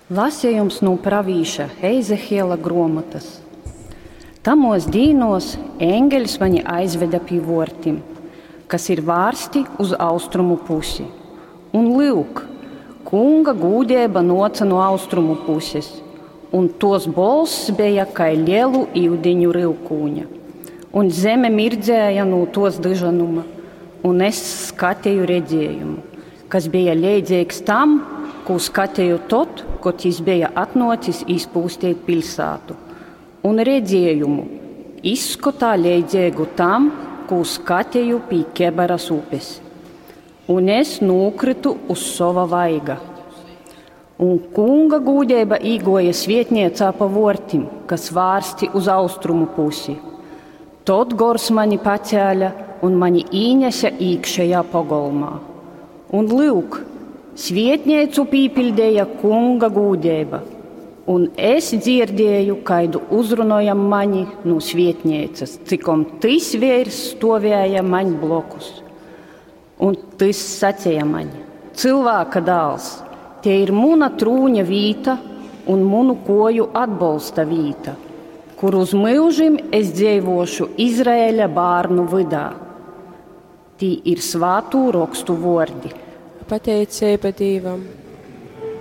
Lasejums nu pravīša Eizehiela gruomotys. Tamuos dīnuos eņgeļs mani aizvede pi vuortim, kas ir vārsti uz austrumu pusi. Un lyuk, Kunga gūdeiba nuoce nu austrumu puses, un tuos bolss beja kai lielu iudiņu ryukūņa. Un zeme mirdzēja no tuos dyžanuma, un es skateju redzējumu, kas bija leidzīgs tam, kū skateju tod, kod jis beja atnuocis izpūstīt piļsātu. Un redzējumu izskotā leidzīgu tam, kū skateju pie Kebaras upes. Un es nūkritu uz sova vaiga. Un kunga gūdeiba īgoja svietniecā pa vortim, kas vārsti uz austrumu pusi. Tod gors mani pacēla un mani īnese īkšējā pogolmā. Un lyuk, svietnīcu pīpildīja kunga gūdeiba, un es dzirdēju, kaidu uzrunojam mani no svietnīcas, cikom tys veirs stovēja maņ blokus. Un tys sacīja maņ: Cilvēka dāls, te ir muna trūņa vīta un munu koju atbolsta vīta, kur uz myužim es dzīvošu Izraēļa bārnu vydā. Tī ir svātū rokstu vordi. Pateiceiba Dīvam.